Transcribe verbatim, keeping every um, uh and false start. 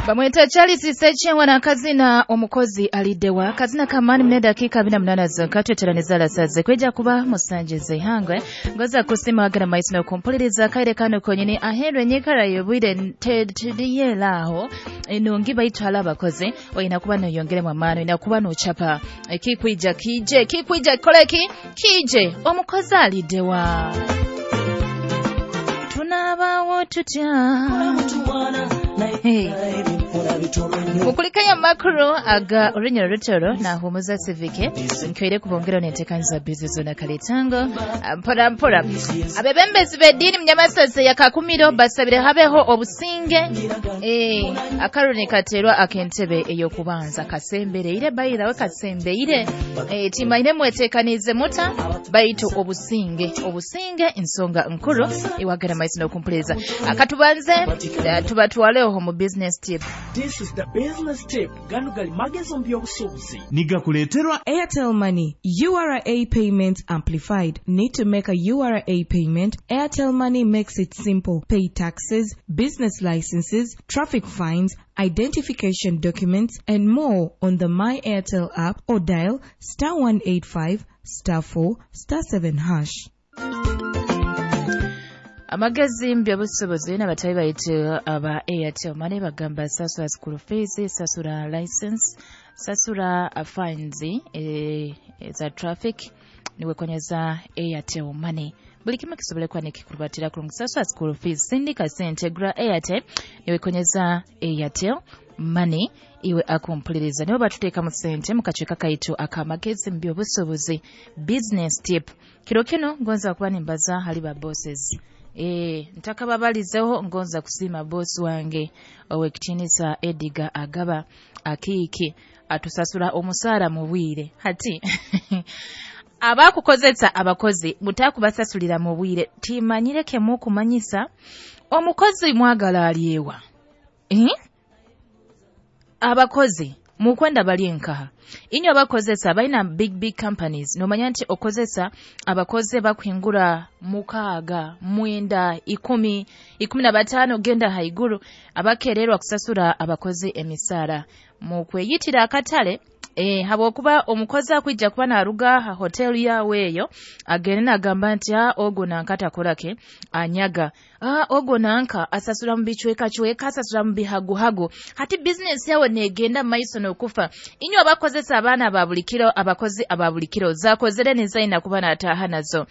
Bamweta Charles Sechengwa n'akazina "Omukozi Aliddewa", akazina kamaani. Mune dakiika abiri na munaana zokka tweteraniza alasaze kweja kuba musanju z'eihangwe. Ngoza kusima wagana maiso n'okumpuliriza akaire kano konyini. Aheeru enyikara y'obwire teriyera aho enungi, baitwala abakozi oyina kuba noyongeremu amaani, oyina kuba nocapa ekikwija kije, ekikwija kikoleki kije. Omukozi aliddewa, tunaabawo tutya? Hey. Mukulikayo amakuru aga orunyoro rutoro nahumuza sivike nkweire kubongera nentekanyiza bizi zona kaletango mpora mpora. Abebembezi b'eddiini munyamasase ya Kakumiro basabire habeho obusinge. eh, akaruni katerwa ak'entebe ey'okubanza kasembereire, bayirawe kasembeire. eh, timaine mwetekanize muta, baitu obusinge, obusinge ensonga nkuru. Iwagera maiso n'okumpuliriza, akatubanze eh, tubatwaleho mu business tip. This is the business tip. Gano gali magezi mu by'obusuubuzi. Nigakuleeterwa Airtel Money, U R A Payment Amplified. Need to make a U R A payment? Airtel Money makes it simple. Pay taxes, business licenses, traffic fines, identification documents, and more on the My Airtel app or dial star one eight five star four star seven hash. Amagezi mu byobusuubuzi n'abatabi baitu aba Airtel Money bagamba sasula school fees, sasula license, sasula uh, fines eh, za traffic niwekonyeza Airtel Money. Buli kimu kisobole kuba nikikurubatira kurungi. Sasula school fees, sindika sente, gura airtel niwekonyeza Airtel Money. Iwe akumpuliriza, nibo batuteekamu sente mu kacweka kaitu akamagezi mu byobusuubuzi, business tip. Kiro kino ngonza kuba nimbaza hali ba bosses. E, ntakababalizeho ngonza kusiima bosi wange owekitiinisa Ediga Agaba Akiiki, atusasula omusaara mu bwire. Hati abakukozesa abakozi mutakubasasulira mu bwire, timanyire kemukumanyisa omukozi mwagala alyewa, eh? Abakozi mukwenda bali enkaha inywe abakozesa balina big big companies, nomanya nti okozesa abakozi bakuhingura mukaaga, mwenda, ikumi, ikumi na bataano, genda haiguru, abakererwa kusasura abakozi emisaara mukweyitira akatale. E, habwokuba omukozi akwija kuba naruga ha hoteli yawe eyo agende nagamba nti, "Ah, ogwo nanka takorake, anyaga. Ah, ogwo nanka asasura mu bicwekacweka, asasura mu bihaguhagu." Hati bizinesi yawe negenda maiso n'okufa. Inywe abakozesa abaana ba buli kiro, abakozi aba buli kiro zakozere nizayina kuba nataaha nazo.